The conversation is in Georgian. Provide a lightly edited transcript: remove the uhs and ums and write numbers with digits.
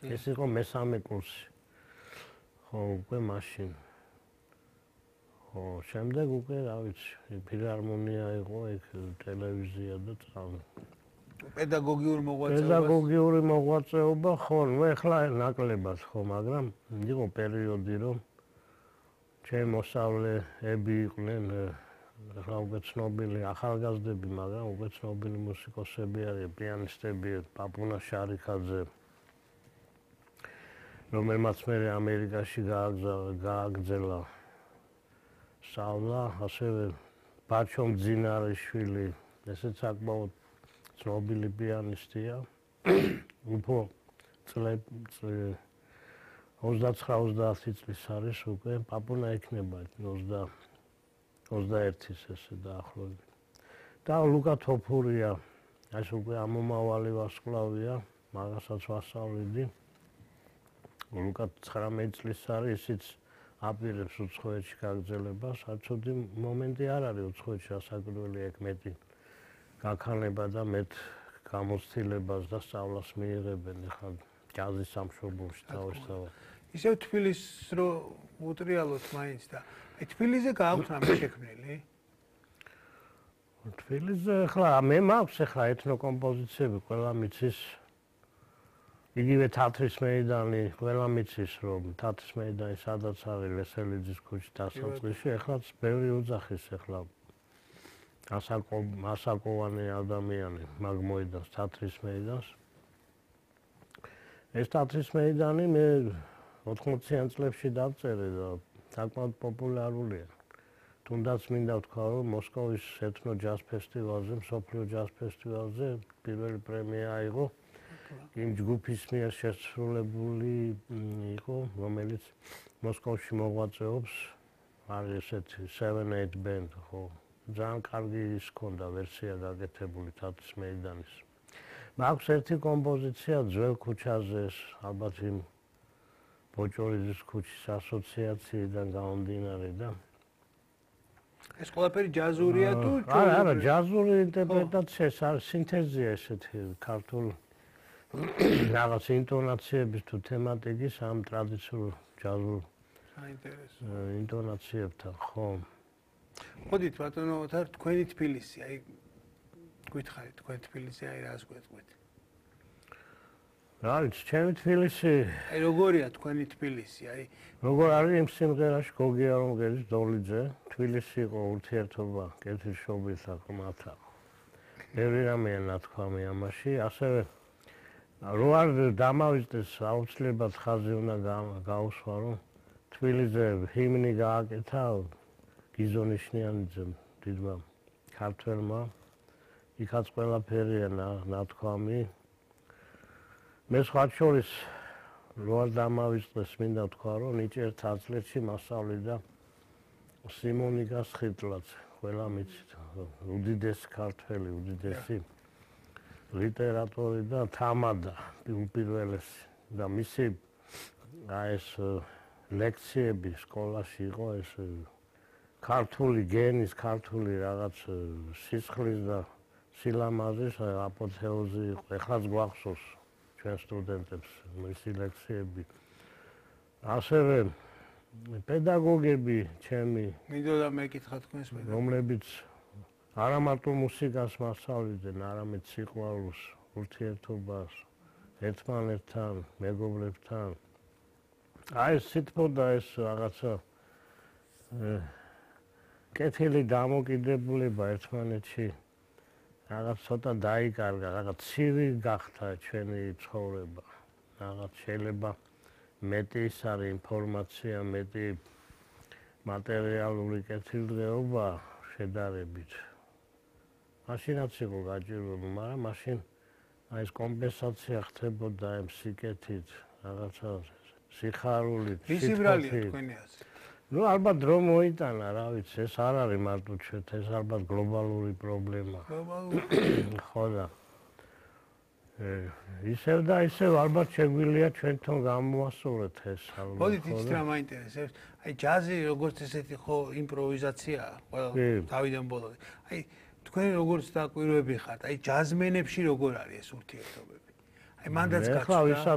ეს იყო მესამე კურსი. ხო, უკვე მაშინ. ხო, შემდეგ უკვე, რა ვიცი, ფილარმონია იყო, ეგ ტელევიზია და წავი. პედაგოგიური მოღვაწეობა. პედაგოგიური მოღვაწეობა, ხო, ნუ ეხლა ნაკლებად ხო, მაგრამ იყო პერიოდი, რომ ჩემი მოსწავლეები იყვნენ რა უკვე ცნობილი ახალგაზრდები, მაგრამ უკვე ცნობილი მუსიკოსები არიან, პიანისტები, პაპუნა შარიხაძე, რომელმაც მე ამერიკაში გააგრძელა სწავლა, ასევე ბაჩო მძინარიშვილი, ესეც საკმაოდ ცნობილი პიანისტია. უფრო 29-30 წლის არის უკვე, პაპუნა იქნება 21-ის ესე დაახლოებით. და ლუკა თოფურია, ეს უკვე ამომავალი ვარსკვლავია, მაგასაც ვასწავლიდი. ლუკა 19 წლის არის, ისიც აპირებს უცხოეთში გაგრძელებას, არცოდი მომენტი არ არის უცხოეთში ასაკვირველი ეგ მეტი გაქანება და მეტ გამოცდილებას და სწავლას მიიღებენ ახლა ჯაზის სამშობლოში თავისთავად. ისევ თბილისს რო უტრიალოთ მაინც და თბილისზე გააქვთ რამე შექმნილი? თბილისზე ახლა მე მაქვს ახლა ეთნოკომპოზიციები, ყველა მიცის იგივე თათრის მეიდანი, ყველა მიცის რომ თათრის მეიდანი სადაც არის ლესელიძის ქუჩის დასაწყისში, ახლაც ბევრი ოძახის ახლა ასაკოვანი ადამიანი მაგ მოედანს თათრის მეიდანს. ეს თათრის მეიდანი მე 80-იან წლებში დავწერე და საკმაოდ პოპულარულია. თუნდაც მინდა ვთქვა, რომ მოსკოვის ეთნო ჯაზ ფესტივალზე, მსოფლიო ჯაზ ფესტივალზე პირველი პრემია აიღო. იმ ჯგუფის მიერ შესრულებული იყო, რომელიც მოსკოვში მოღვაწეობს, არის ესეთი 7-8 band, ხო. ძალიან კარგი ის ქონდა ვერსია გაკეთებული თათრის მეიდანის. მაქვს ერთი კომპოზიცია ძველ ქუჩაზე, ალბათ იმ ბოჭორიძის ქუჩის ასოციაციიდან გამომდინარე და ეს ყველაფერი ჯაზურია თუ არა, ჯაზური ინტერპრეტაცია, ეს არის სინთეზია ესეთი ქართული რაღაც ინტონაციების თუ თემატიკის ამ ტრადიციულ ჯაზურ საინტერესო ინტონაციებთან, ხო. მოდით ბატონო, თქვენი თბილისი, აი გითხარით, თქვენ თბილისი, აი რას გვეტყვით? რა ვიცი, ჩემი თბილისი. აი როგორია თქვენი თბილისი, აი როგორ არის იმ სიმღერაში გოგი არონგელის დოლიძე, თბილისი იყო ურთიერთობა კეთილშობილთა ხმათა. ბევრი რამეა ნათქვამი ამაში, ასევე რო არ დამავიწყდეს აუცილებლად ხაზი უნდა გაუსვა, რომ თბილისზე ჰიმნი გააკეთა გიზონიშნიანიძემ, დიდმა ქართველმა, იქაც ყველაფერია ნათქვამი. მე სხვათა შორის რო არ დამავიწყდეს, მინდა ვთქვა, რომ ნიჭიერ თაცლეთში მასწავლიდა სიმონიკა სხირტლაძე, ყველა მიცით, უდიდესი ქართველი, უდიდესი ლიტერატორი და თამადა უპირველესი და მისი ეს ლექციები სკოლაში იყო ეს ქართული გენის, ქართული რაღაც სისხლის და სილამაზის აპოთეოზი იყო. ეხლაც გვახსოვს ჩვენ სტუდენტებს მისი ლექციები. ასევე პედაგოგები ჩემი მინდოდა მეკითხა თქვენს მე რომლებიც არა მარტო მუსიკას მასწავლიდნენ, არამედ სიყვარულს, ურთიერთობას ერთმანეთთან, მეგობრებთან. აი ეს სიტყვა ეს რაღაცა კეთილი დამოკიდებულება ერთმანეთში რაღაც ცოტა დაიკარგა, რაღაც ცივი გახდა ჩვენი ცხოვრება. რაღაც შეიძლება მეტი ის არის ინფორმაცია, მეტი მატერიალური კეთილდღეობა შედარებით. მაშინაც იყო გაჭირვებული, მაგრამ მაშინ აი ეს კომპენსაცია ხდებოდა ამ სიკეთით, რაღაცა სიხარულით, ისი ბრალია თქვენი აზრით? ნუ ალბათ დრო მოიტანა, რა ვიცი, ეს არ არის მარტო ჩვენთ, ეს ალბათ გლობალური პრობლემა. გლობალური. ხო და ისევ და ისევ ალბათ შეგვიძლია ჩვენთან გამოვასწოროთ ეს ალბათ. მოდით იცით რა მაინტერესებს? აი ჯაზი როგორც ესეთი ხო იმპროვიზაციაა, ყველა თავიდან ბოლომდე. აი თქვენ როგორც დაკვირვები ხართ, აი ჯაზმენებში როგორ არის ეს ურთიერთობები? აი მანდაც გაჩნდა